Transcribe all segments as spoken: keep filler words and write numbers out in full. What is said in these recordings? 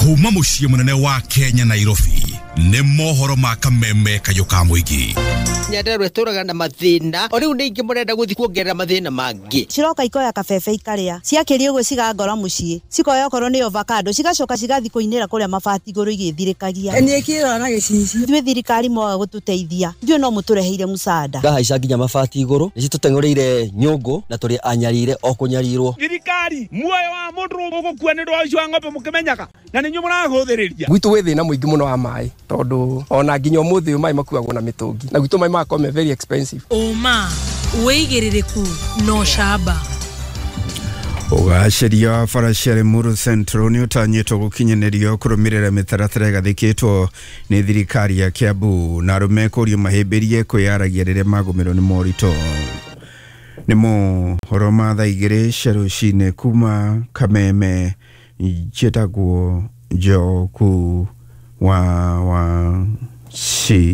Kuma muciĩ munene wa Kenya Nairobi nĩ mohoro ma kameme kayũ ka mũingĩ. Nyandarua ĩtũraga na mathĩna o rĩu nĩ ingĩ mũrenda gũthiĩ kuongerera mathĩna mangĩ. Ciroka ikoya kabebe ikaria ciakĩria ũguo cigangora mũciĩ cikoya okorwo nĩ avocado cigacoka cigathiĩ kũinĩra kũrĩa mabati igũrũ igĩthirĩkagia. Niĩ kĩrora na gĩcicio. Ithuĩ thirikari mwaga gũtũteithia ithuĩ no mũtũreheire mũcada. Ngahaica nginya mabati igũrũ nĩ citũteng'ũrĩire nyũngũ na tũrĩ anyarire o kũnyarirwo. Thirikari muoyo wa mũndũ ũgũkua nĩ ũndũ wa ũici wa ng'ombe mũkĩmenyaga na nĩ inyuĩ mũrahũthĩrĩria. Gwitũ gwĩ thĩna mũingĩ mũno wa maĩ tondũ ona nginya ũmũthĩ ũyũ maĩ makuagwo na mĩtũngi na gwitũ maĩ magakorwo me very expensive. Ũma wĩigĩrĩrĩku no camba. Ũgacĩria wa bara cia Limuru Central nĩ ũtanyĩtwo gũkinyanĩrio kũrũmĩrĩra mĩtaratara ĩgathĩkĩtwo nĩ thirikari ya Kiambu na arũme kũrio mahĩmbĩrie kwĩyaragia rĩrĩa magũmĩrwo nĩ moritũ. Nĩ mohoro ma thaa igĩrĩ cia rũcinĩ kuma Kameme, njĩtagwo Njoku wa Wachira.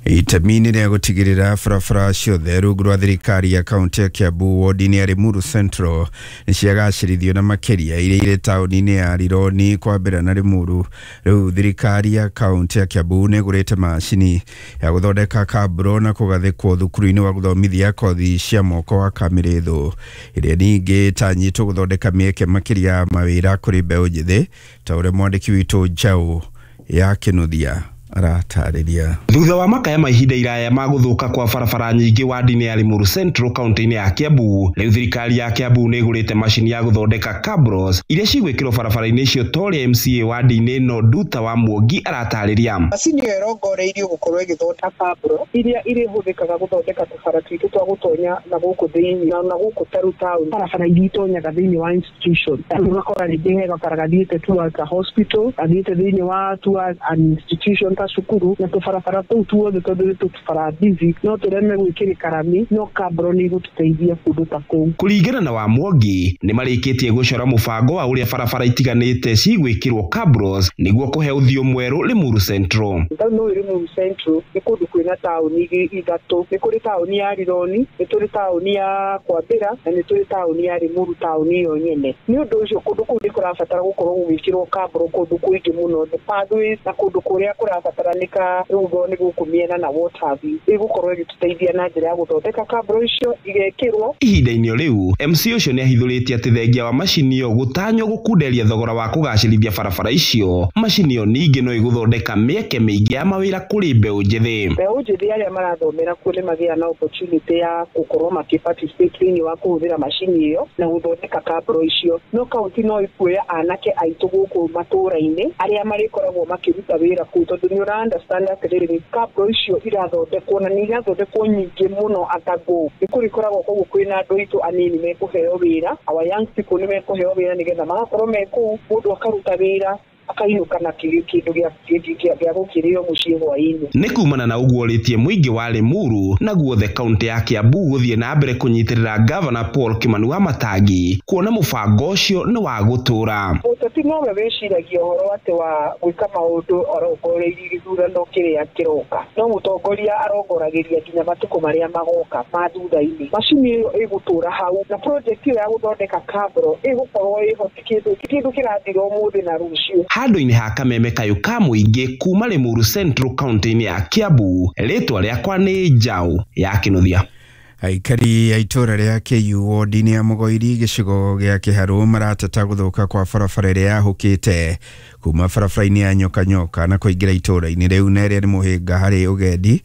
Itemi-inĩ rĩa gũtigĩrĩra barabara ciothe rungu rwa thirikari ya kaunti ya Kiambu wodi-inĩ ya Limuru Central nĩ ciagacĩrithio na makĩria iria irĩ taũni-inĩ ya Rironi kwambĩra na Limuru. Rĩu thirikari ya kaunti ya Kiambu nĩ ĩgũrĩte macini ya gũthondeka kaburo na kũgathĩkwo thukuru-inĩ wa gũthomithia kothi cia moko wa Kamĩrĩthũ ĩrĩa ningĩ ĩtanyĩtwo gũthondeka mĩeke makĩria ya mawĩra kũrĩ mbeũ njĩthĩ ta ũrĩa mwandĩki witũ Njaũ ya Kĩnuthia aratarĩria. Thutha wa makaya ma ihinda iraya ma gũthũka kwa barabara nyingĩ wadi-inĩ ya Limuru Central kaunti-inĩ ya Kiambu, rĩu thirikari ya Kiambu nĩ ĩgũrĩte macini ya gũthondeka cabros iria cigwĩkĩrwo barabara-inĩ icio ta ũrĩa M C A wadi-inĩ ĩno Nduta wa Muongi aratarĩria. Macini ĩyo ĩrongoreirio gũkorwo ĩgĩthondeka cabro iria irĩhũthĩkaga gũthondeka tũbara twitũ twa gũtonya na gũkũ thĩinĩ na na gũkũ taru town, barabara iria itonyaga thĩinĩ wa institution. Ũgakora rĩngĩ he gabara gathiĩte towards a hospital, gathiĩte thĩinĩ wa towards an institution ta cukuru, na tũbarabara tũu tuothe tondũ nĩ tũbara busy no tũreme gwĩkĩrĩka rami, no kabro nĩ igũtũteithia kũndũ ta kũu. Kũringana na Wamwongi, nĩ marĩkĩtie gũcora mũbango wa ũrĩa barabara itiganĩte cigwĩkĩrwo cabros nĩguo kũhe ũthiũ mwerũ Limuru Central. No Limuru Central nĩ kũndũ kwĩna taũni ithatũ, nĩ kũrĩ taũni ya Rironi, nĩ tũrĩ taũni ya Kwambĩra na nĩ tũrĩ taũni ya Limuru taũni ĩyo nyene. Nĩ ũndũ ũcio kũndũ kũu nĩ kũrabatara gũkorwo gũgĩkĩrwo kabro kũndũ kũingĩ mũno, the pathways na kũndũ kũrĩa kũrabataranĩka rũgo nĩ gũkũ mĩena na what have you. Ĩgũkorwo ĩgĩtũteithia na njĩra ya gũthondeka kabro icio igekĩrwo. Ihinda-inĩ rĩu M C ũcio nĩ ahithũrĩtie atĩ thengia wa macini ĩyo gũtanywo gũkunderia thogora wa kũgacĩrithia barabara icio, macini ĩyo ningĩ no ĩgũthondeka mĩeke mĩingĩ ya mawĩra kũrĩ mbeũ njĩthĩ. Mbeũ njĩthĩ arĩa marathomera kuo nĩ magĩaga na opportunity ya gũkorwo makĩ-participate thĩinĩ wa kũhũthĩra macini ĩyo na gũthondeka kabro icio. No kaunti no ĩkuoya anake aitũ gũkũ matũũra-inĩ arĩa marĩkoragwo makĩruta wĩra kũu, tondũ nĩ ũra understand atĩrĩrĩ kabro icio irathondekwo na nĩ irathondekwo nyingĩ mũno atago. Nĩ kũrĩkoragwo koguo kwĩna andũ aitũ anini mekũheo wĩra, our young people nĩ mekũheo wĩra nĩgetha magakorwo me kũu, mũndũ akaruta wĩra akainũka na kĩndũ gĩa gũkĩrĩo mũciĩ hwaĩ-inĩ. Nĩ kumana na ũguo rĩtie mũingĩ wa Limuru na guothe kaunti ya Kiambu gũthiĩ na mbere kũnyitĩrĩra Gavana Paul Kimani wa Matangi kuona mũbango ũcio nĩ wa gũtũũra. Mũteti nowe wĩciragia ũhoro atĩ wa gwĩka maũndũ arongoreirie gĩthurano kĩrĩa kĩroka, no mũtongoria arongoragĩria nginya matukũ marĩa magoka ma thutha-inĩ. Macini ĩyo ĩgũtũũra hau na project ĩyo ya gũthondeka kabro ĩgũkorwo ĩho, ti kĩndũ kĩndũ kĩrathira ũmũthĩ na rũciũ. Handũ-inĩ ha kameme kayũ ka mũingĩ kuma Limuru Central kaunti-inĩ ya Kiambu, rĩtwa rĩakwa nĩ Njaũ ya Kĩnuthia. Aikari a itũũra rĩa K U wodi-inĩ ya Mũgoiri gĩcigo gĩa Kĩharũ marateta gũthũka kwa barabara ĩrĩa yahũkĩte kuma barabara-inĩ ya Nyoka Nyoka na kũingĩra itũũra-inĩ rĩu na ĩrĩa nĩ mũhĩnga harĩ ũgendi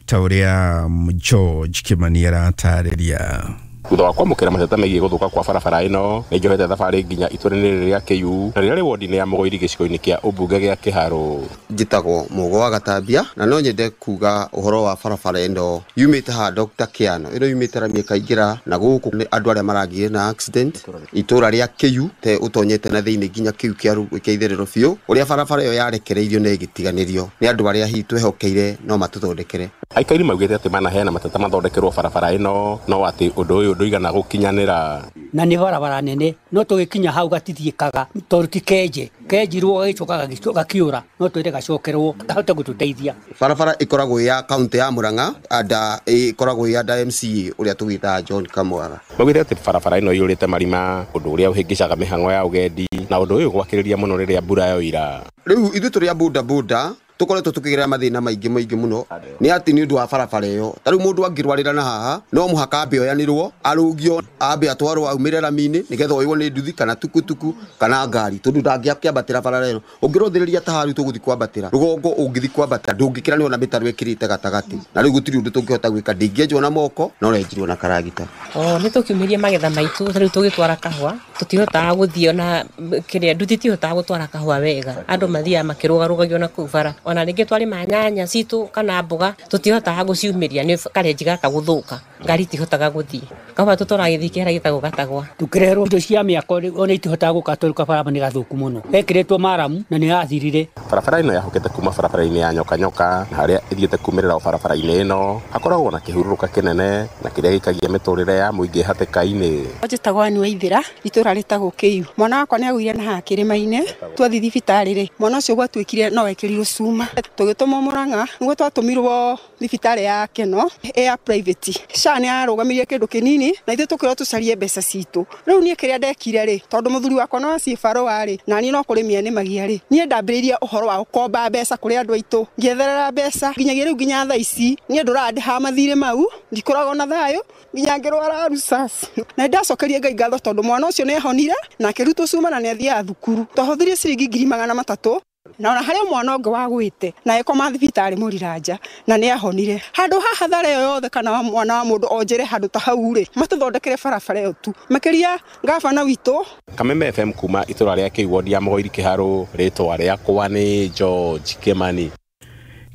ta ũrĩa George Kimani aratarĩria. Thutha wa kwamũkĩra mateta megiĩ gũthũka kwa barabara ĩno, nĩ njohete thabarĩ nginya itũũra-inĩ rĩrĩ rĩa K U na rĩrĩa rĩ wodi-inĩ ya Mũgoiri gĩcigo-inĩ kĩa ũmbunge gĩa Kĩharũ. Njĩtagwo Mũgo wa Gatambia na no nyende kuga ũhoro wa barabara ĩno yumĩte ha Doctor Kiano, ĩno yumĩte rami ĩkaingĩra na gũkũ nĩ andũ arĩa maragĩire na accident itũũra rĩa K U te ũtonyete na thĩinĩ nginya kĩu kĩa itherero biũ. Ũrĩa barabara ĩyo yarekereirio na ĩgĩtiganĩrio nĩ andũ arĩa hihi twehokeire no matũthondekere. Aikari maugĩte atĩ manaheana mateta mathondekerwo barabara ĩno no atĩ ũndũ ũyũ ndũigana gũkinyanĩra. Na nĩ barabara nene no tũgĩkinya hau gatithiĩkaga tondũ ti kenje kenjirwo gagĩcoka gakiũra no twĩre gacokerwo kahote gũtũteithia. Barabara ĩkoragwo ya kaunti ya Murang'a anda ĩkoragwo ya anda M C A ũrĩa tũgĩtaga John Kamwara. Maugĩte atĩ barabara ĩno ĩiyũrĩte marima ũndũ ũrĩa ũhĩngĩcaga mĩhang'o ya ũgendi na ũndũ ũyũ gwakĩrĩria mũno rĩrĩa mbura yoira. Rĩu ithuĩ tũrĩ a boda boda tukoretwo tukigerera mathina maingi maingi muno ni ati ni undu wa barabara iyo. Ta riu mundu angirwarira na haha no muhaka ambe oyanirwo arugio ambe atwarwo aumire rami-ini nigetha oywo ni nduthi kana tukutuku kana ngari tondu ndangĩakĩambatĩra barabara ĩno. Ũngĩrũthĩrĩria ta haru tũgũthi kwambatĩra rũgongo ũngĩthi kwambata ndũngĩkĩra nĩ ona mĩtaro ĩkĩrĩte gatagatĩ na rĩu gũtirĩ ũndũ tũngĩhota gwĩka. Ndingĩenjwo na moko no renjirwo na karagita. O nĩ tũkiumĩria magetha maitũ ta rĩu tũgĩtwara kahũa tũtihotaga gũthiĩ ona kĩrĩa nduthi tihotaga gũtwara kahũa wega andũ mathiaga makĩrũgarũgagio na kũu bara. Ona rĩngĩ twarĩma nyanya citũ kana mboga tũtihotaga gũciumĩria nĩ karenji gaka gũthũka ngari itihotaga gũthiĩ kahũa tũtwaraga gĩthii kĩrĩa gĩtagwo gatagwa. Tũkĩreherwo indo cia mĩako ona itihotaga gũka tondũ kabara nĩ gathũku mũno gekĩrĩtwo maramu na nĩ yathirire. Barabara ĩno yahũkĩte kuma barabara-inĩ ya nyoka nyoka na harĩa ĩthiĩte kumĩrĩra o barabara-inĩ ĩno hakoragwo na kĩhurũrũka kĩnene na kĩrĩa gĩikagia mĩtũrĩre ya mũingĩ hatĩka-inĩ. Njĩtagwo Anne Waithera itũra rĩtagwo Kĩiu. Mwana wakwa nĩ agũire na haha kĩrĩma-inĩ twathiĩ thibitarĩ rĩ mwana ũcio gwatuĩkire no ekĩrirwo cuma tũgĩtũmwo Murang'a nĩguo twatũmirwo thibitarĩ ya Keno ya private. SHA nĩ yarũgamirie kĩndũ kĩnini na ithuĩ tũkĩrwo tũcarie mbeca citũ. Rĩu niĩ kĩrĩa ndekire rĩ tondũ mũthuri wakwa no aciĩ barũa rĩ na niĩ no kũrĩmia nĩmagia rĩ niĩ ndambĩrĩirie ũhoro wa gũkomba mbeca kũrĩ andũ aitũ ngĩetherera mbeca nginyagia rĩu nginya thaa ici niĩ ndũrandĩha mathirĩ mau ndikoragwo na thayũ nginya ngĩrwara rusas na ndacokeria Ngai ngatho tondũ mwana ũcio nĩ ahonire na akĩrutwo cuma na nĩ athiaga thukuru. Twahũthĩrire ciringi ngiri magana matatũ na ona harĩa mwana ũngĩ wagwĩte na ĩkoma thibitarĩ Mũriranja na nĩ ahonire. Handũ haha thare ĩyo yothe kana mwana wa mũndũ onjere handũ ta hau rĩ matũthondekere barabara ĩyo tu makĩria gabana witũ. Kameme F M kuma itũra rĩa Kĩiu wodi ya Mũgoiri Kĩharũ rĩtwa rĩakwa nĩ George Kimani.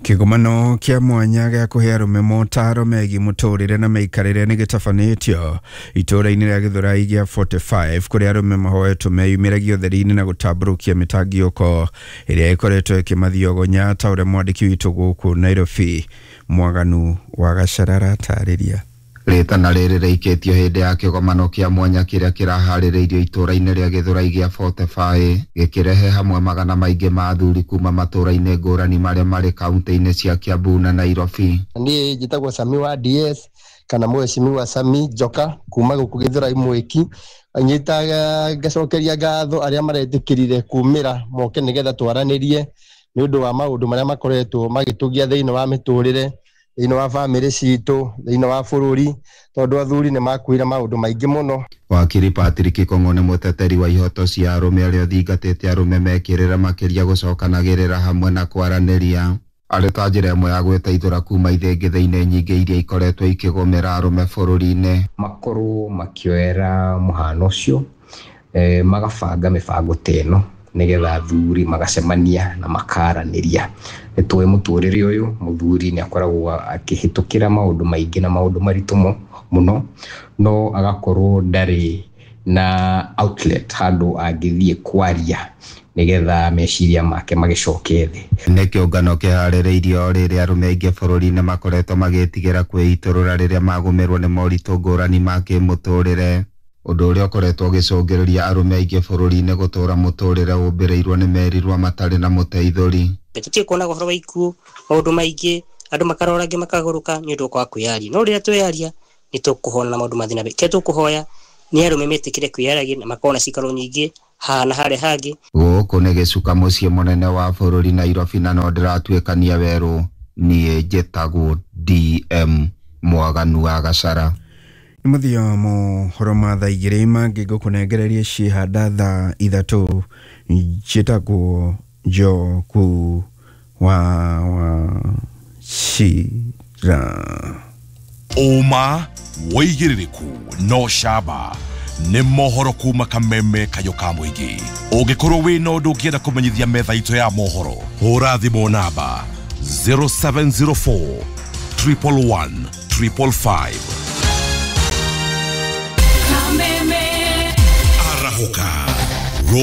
Kĩgomano kĩa mwanya gĩa kũhe arũme motaro megiĩ mũtũrĩre na mĩikarĩre nĩ gĩtabanĩtio itũũra-inĩ rĩa Gĩthũrai gĩa forty-five kũrĩa arũme mahoetwo meyumĩragie ũtheri-inĩ na gũtambũrũkia mĩtangiũko ĩrĩa ĩkoretwo ĩkĩmathiogonya ta ũrĩa mwandĩki witũ gũkũ Nairobi Mwaganu wa Gacarara atarĩria. Rĩtana rĩrĩ rĩikĩtio hĩndĩ ya kĩgomano kĩa mwanya kĩrĩa kĩraharĩrĩirio itũũra-inĩ rĩa Gĩthũrai gĩa forty-five gĩkĩrehe hamwe magana maingĩ ma athuri kuma matũũra-inĩ ngũrani marĩa marĩ kaunti-inĩ cia Kiambu na Nairobi. Niĩ njĩtagwo Sami wa D S kana mheshimiwa Sami Njoka kuma gũkũ Gĩthũrai Mwĩki. Nyitaga ngacokeria ngatho arĩa maretĩkĩrire kumĩra moke nĩgetha twaranĩrie nĩ ũndũ wa maũndũ marĩa makoretwo magĩtũgia thĩinĩ wa mĩtũrĩre thĩinĩ wa bamĩrĩ citũ thĩinĩ wa bũrũri tondũ athuri nĩ makuire maũndũ maingĩ mũno. Wakiri Patrick Kong'o nĩ mũteteri wa ihoto cia arũme arĩa ũthingatĩte arũme mekĩrĩra makĩria gũcokanagĩrĩra hamwe na kwaranĩria arĩ ta njĩra ĩmwe ya gwĩteithũra kuma ithĩngĩthĩ-inĩ nyingĩ iria ikoretwo ikĩgũmĩra arũme bũrũri-inĩ. Makorwo makĩoera mũhano ũcio eh, magabanga mĩbango ta ĩno nĩgetha athuri magacemania na makaranĩria. Nĩ tũĩ mũtũrĩre ũyũ mũthuri nĩ akoragwo akĩhĩtũkĩra maũndũ maingĩ na maũndũ maritũ mũno no agakorwo ndarĩ na outlet handũ angĩthiĩ kwaria nĩgetha meciria make magĩcoke thĩ. Nĩ kĩũngano kĩharĩrĩirio o rĩrĩa arũme aingĩ bũrũri-inĩ makoretwo magĩtigĩra kwĩitũrũra rĩrĩa magũmĩrwo nĩ moritũ ngũrani ma kĩmũtũrĩre ũndũ ũrĩa ũkoretwo ũgĩcũngĩrĩria arũme aingĩ bũrũri-inĩ gũtũra mũtũrĩre ũmbĩrĩirwo nĩ merirwa matarĩ na mũteithũri. Tũtirĩ kuonaga ũhoro wa ikuũ maũndũ maingĩ andũ makarora angĩ makagũrũka nĩ ũndũ wa kwaga kwĩyaria no rĩrĩa twĩyaria nĩ tũkũhona na maũndũ mathina. Kĩrĩa tũkũhoya nĩ arũme metĩkĩre kwĩyaragia na makorwo na cikaro nyingĩ haha na harĩa hangĩ. Gũkũ nĩ gĩcuka mũciĩ mũnene wa bũrũri Nairobi na no ndĩratuĩkania werũ. Niĩ njĩtagwo D M Mwaganu wa Gacara. Nĩ mũthia wa mohoro ma thaa igĩrĩ mangĩ ngũkũnengereria ciĩhanda thaa ithatũ. Njĩtagwo Njoku wa Wachira. Ũma wĩigĩrĩrĩku no camba nĩ mohoro kuma Kameme Kayũ ka Mũingĩ. Ũngĩkorwo wĩna ũndũ ũngĩenda kũmenyithia metha itũ ya mohoro hũra thimũ namba zero seven zero four triple one triple five. Arahũka.